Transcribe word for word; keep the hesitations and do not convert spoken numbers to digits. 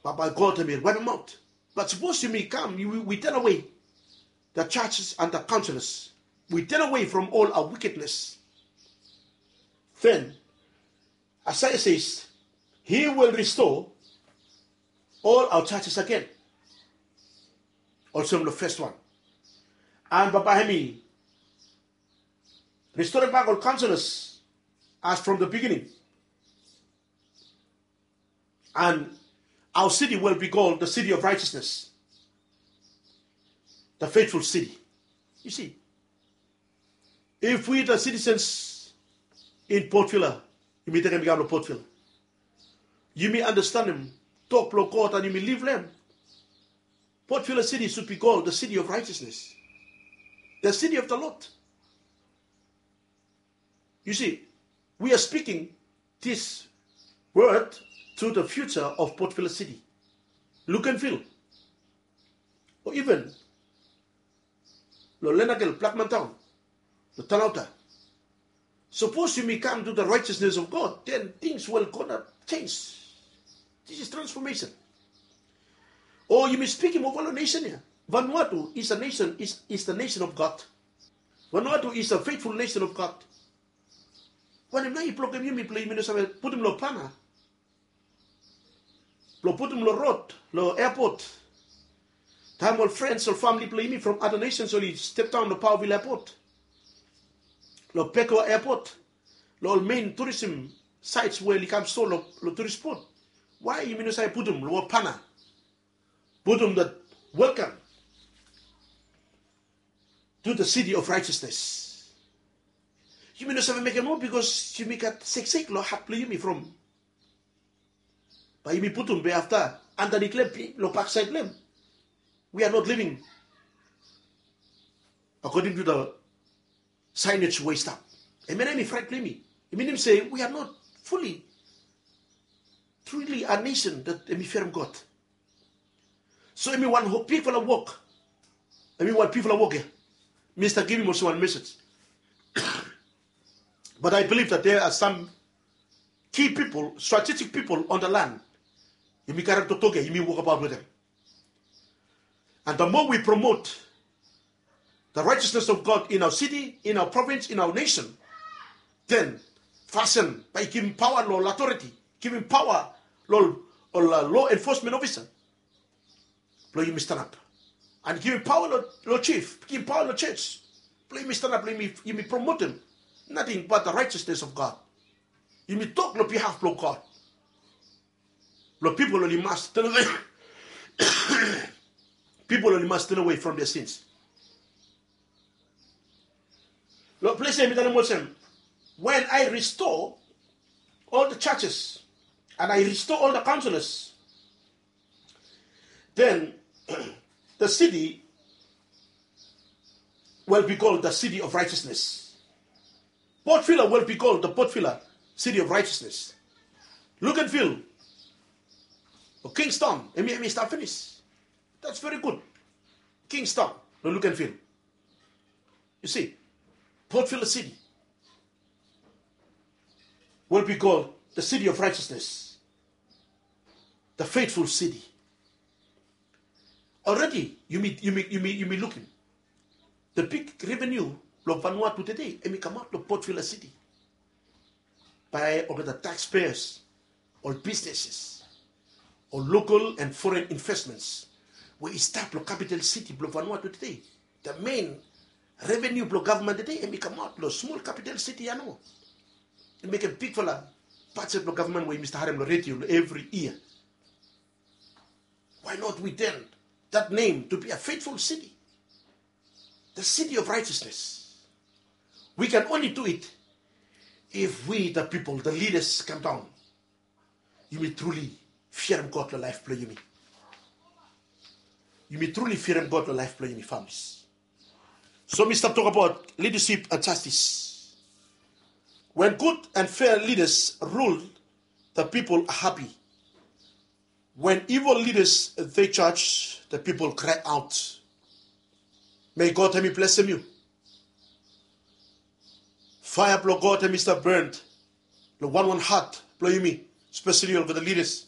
Bambae God hemi waepemaot. But sapos yumi kam, we turn away the churches and the councils. We turn away from all our wickedness. Then, Isaiah says, he will restore all our churches again. Olsem long fes wan. And bambae hemi restorem bak ol councils as from the beginning. And our city will be called the city of righteousness, the faithful city. You see, if we, the citizens in Port Vila, yumi tekem i kam long Port Vila, yumi understandim tok blong God and yumi liv long hem. Port Vila city should be called the city of righteousness, the city of the Lord. You see, we are speaking this word to the future of Port Vila city. Look and feel. Or even long Lenakel, Blackman Town, long Talauta. Sapos yumi kam to the righteousness of God, then things will gonna change. This is transformation. O yumi spikim ova long nesen ya. Vanuatu is a nation, is, is the nation of God. Vanuatu is a faithful nation of God. Wanem nao i blokem yumi blong yumi no save putum long pana blong putum long rod, long airport. Taem ol friends, ol famili blong yumi from other nations oli step daon long Paovil Airport, long Bekoa Airport, long ol main tourism sites we oli kam store long, long tourist spot. Why yumi no save putum long ol pana, putum that welcome to the city of righteousness? Yumi no save mekem moa because yumi gat seksek long hat blong yumi from bae yumi putum be afta andanit long hem, long baksaed long hem, we are not living according to the signage we i stap. Hemia nao hemi fraet blong yumi. I minim se we are not fully, truly a nation that hemi fearem God. So hemi wan bigfala wok. Hemi wan bigfala wok ya. Mi stap givim olsem wan message. But I believe that there are some key people, strategic people on the land. Yumi karem toktok ya, yumi wokbaot wetem. And the more we promote the righteousness of God in our city, in our province, in our nation, then fasin bae i givim paoa long authority, givim paoa long, long law enforcement officer blong yumi stanap. And givim paoa long, long chief, givim paoa long church blong yumi stanap, blong yumi, yumi promotem nothing but the righteousness of God. Yumi tok long behalf blong God. Blong pipol oli mas turn away. Pipol oli mas turn away from their sins. Long ples ya mi talem olsem, when I restore all the churches and I restore all the councillors, then the city will be called the city of righteousness. Port Vila will be called the Port Vila city of righteousness. Look and feel. O Kingston, hemi, hemi stap finis. That's very good. Kingston, no, look and feel. You see, Port Vila city will be called the city of righteousness, the faithful city. Already, yumi, yumi, yumi, yumi lukim the big revenue blong Vanuatu tede, hemi kamaot long Port Vila city. Bae olgeta taxpayers, ol businesses, ol local and foreign investments we i stap long capital city blong Vanuatu tede. The main revenue blong gavman tede, hemi kamaot long smol capital city ya nomo. I mekem bigfala budget blong gavman we yumi stap harem long redio long evri yia. Why not we turn that name to be a faithful city? The city of righteousness. We can only do it if we, the people, the leaders, come down. Yumi truly fiarem God long laef blong yumi. Yumi truly fiarem God long laef blong yumi, families. So mi stap tokbaot leadership and justice. When good and fair leaders rule, the people are happy. When evil leaders, they judge, the people cry out. May God hemi blesem yu. Faea blong God hemi stap burn long wanwan hat blong yumi, especially olgeta leaders.